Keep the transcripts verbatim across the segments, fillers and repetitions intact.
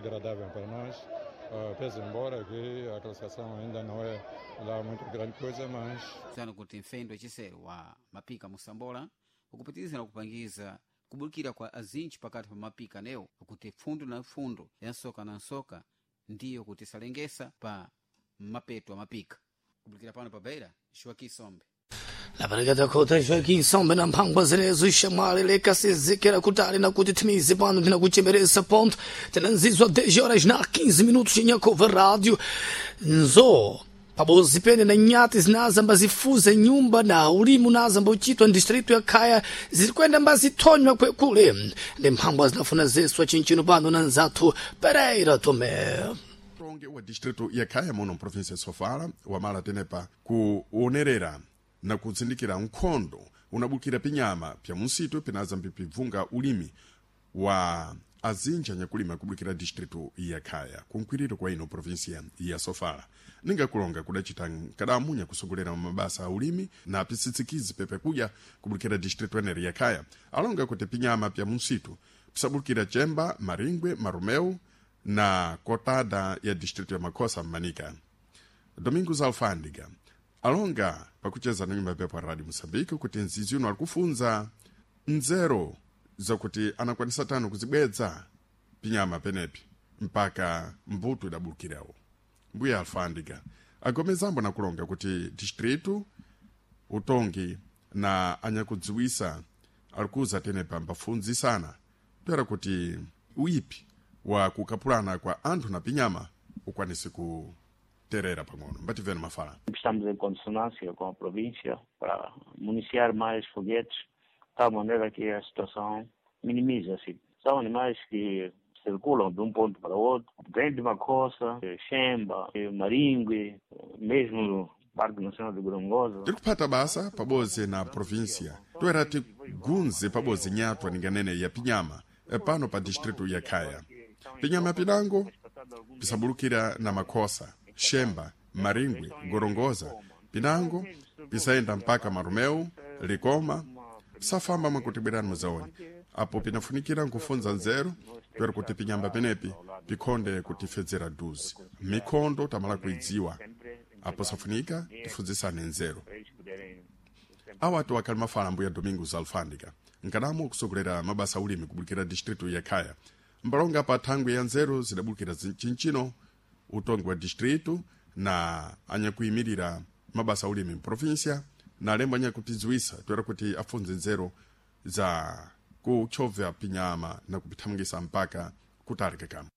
agradável para nós, uh, pese embora que a classificação ainda não é lá muito grande coisa, mas Tsano kuti mfendo wachisere wa mapika musambola ukupitiriza kupangiza kubukira kwa azintchi pakati pa mapika newo kuti pfundo na pfundo ya nsoka na nsoka ndiyo kuti salengesa pa mapeto a mapika kubukira pano pa Beira, Joaquim Sombe. Lapareketa kota Joaquim Sombe na mphangwa zinezo ixamwali lekasizikira kutali na kuti timizi pano tinakuchemeresa ponto tinanzizwa dez horas na quinze minutos chinyakova rádio nzo pabozi pene na nyati zinazamba zifuze nyumba na ulimu nazamba uchitwa ndistrito ya khaya zirikwenda mbazithonywa kwekule ndi mphangwa zinafuna zeswa chinchino pano na nzathu Pereira Tomé. Utongi wa distrito ya Khaya muno mprovinsia ya Sofala wamala tenepa kuonerera na kutsindikira nkhondo unabukira pinyama pya munsitu pinaza mpipibvunga ulimi wa azinja nyakulima kubukira distrito ya Khaya kunkwiriro kwa ino provinsia ya Sofala. Ningakulonga kudacita nkadamunya kusogolera mabasa a ulimi na pisitsikizi pepe kuja kubukira distrito eneri ya Khaya alonga kuti pinyama pya munsitu pisabukira Chemba, Maringwe, Marumeu na kotada ya distrito ya Makosa Manika. Domingos Alfândiga alonga pakucheza na nyumba pepo Radio Moçambique kuti nzizi uno alikufunza nzero zakuti anakwanisa tano kuzibwedza pinyama penepi mpaka mbuto idabulukirawo. Mbuya Alfândiga agomezambo na kulonga kuti distrito utongi na anyakudziwisa alikuza tenepa mbafunzisana toera kuti uipi wa kukapulana kwa anthu na pinyama ukwanise kuterera pang'ono. Mbativeni mafala. Estamos em consonância com a província para municiar mais foguetes, de tal maneira que a situação minimiza-se. São animais que circulam de um ponto para outro, vêm de Macossa, Xemba, Maringue, mesmo no Parque Nacional de Gorongosa. Tiri kuphata basa pabodzi na província toera tigunze pabodzi nyatwa ninganene ya pinyama pano pa distrito ya Khaya. Pinyama pinango pisabulukira na Makosa, Xemba, Maringwe, Gorongosa, pinango pisayenda mpaka Marumeu, Likoma, pisafamba mwakuti bwerani muzaone. Apo pinafunikira nkufunza nzeru toera kuti pinyamba penepi pikhonde kutifedzera duzi. Mikhondo tamala kuidziwa apo safunika tifunzisane nzeru. Awatu akali mafala mbuya Domingos Alfândiga nkadamo kusogolera mabasa ulimi kubulukira distrito ya Khaya. Mbalonga pa thangwi ya nzeru zidabulukira chinchino utongi wa distrito na anyakuyimirira mabasa ulimi mprovinsia na alembo anyakupidziwisa toera kuti afunze nzeru za kuchovya pinyama na kupithamangisa mpaka kutali kakamo.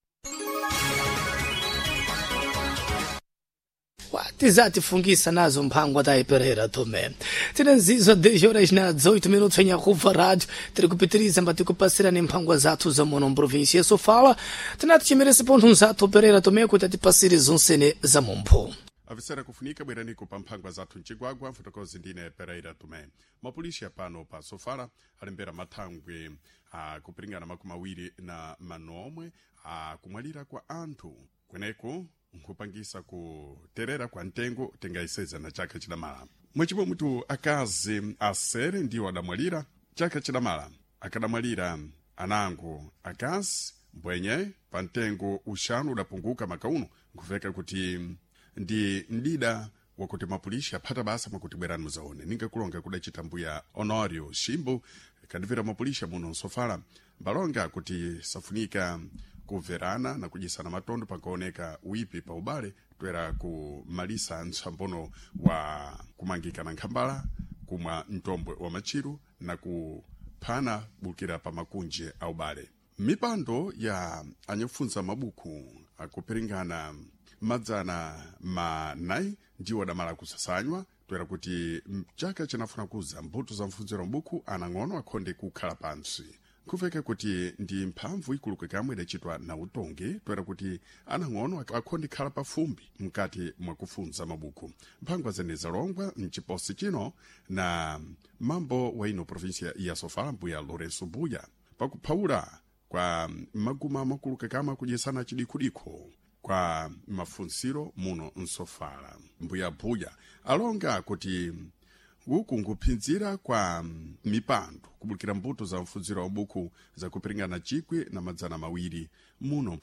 Tizatifungisa nazo mphangwa ta Pereira Tomé. Tinanzizwa dez horas na dezoito minutos em Arruva Rádio. Tiri kupitiriza mbatikupasira ni mphangwa zathu za muno mprovinsia ya Sofala. Tinati chimerese pontho nzathu Pereira Tomé kuti atipasire zonsene za mumpho. Avisera kufunika bweraniko pa mphangwa zathu mcigwagwa mfotokozi ndine Pereira Tomé. Mapolisi pano pa Sofala alembera mathangwe akupiringana makumi awiri na manomwe akumwalira kwa anthu kweneku nkhupangisa kuterera kwa ntengo tingaiseza na chaka chidamala. Mwechimwe mutu akazi asere ndiwo adamwalira chaka chidamala akadamwalira anango akazi mbwenye pa ntengo uxanu udapunguka makauno nkuveka kuti ndi mdida wakuti mapulishi aphata basa mwakuti bwerani muzaone. Ningakulonga kudacita mbuya Honorio Ximbo kadivira mapulishi muno nsofala mbalonga kuti safunika kuverana na kudyisana matondo pakaoneka uipi pa ubale toera kumalisa ntsambono wa kumangika na nkhambala kumwa mtombwe wa matchiru na kuphana bulukira pa makunje a ubale. Mipando ya anyakufunza mabuku akupiringana madzana manayi ndiwo adamala kusasanywa toera kuti mchaka chinafuna kuza mbuto za mfunziro mbuku anang'ono akhonde kukhala pantsi. Nkuveka kuti ndi mphamvu ikuluka kamwe idacitwa na utongi toera kuti anang'ono akhonde khala pafumbi mkati mwakufunza mabuku. Mphangwa zene zalongwa mciposi chino na mambo wa ino provinsia ya Sofala mbuya Lourenço Buya pakuphawula kwa maguma makuluka kamwe akudyesana chidikhudikho kwa mafunsiro muno nsofala. Mbuya Buya alonga kuti uku nkuphinzira kwa mipando kubulukira mbuto za mfunziro wa buku zakupiringana chikwi na madzana mawiri muno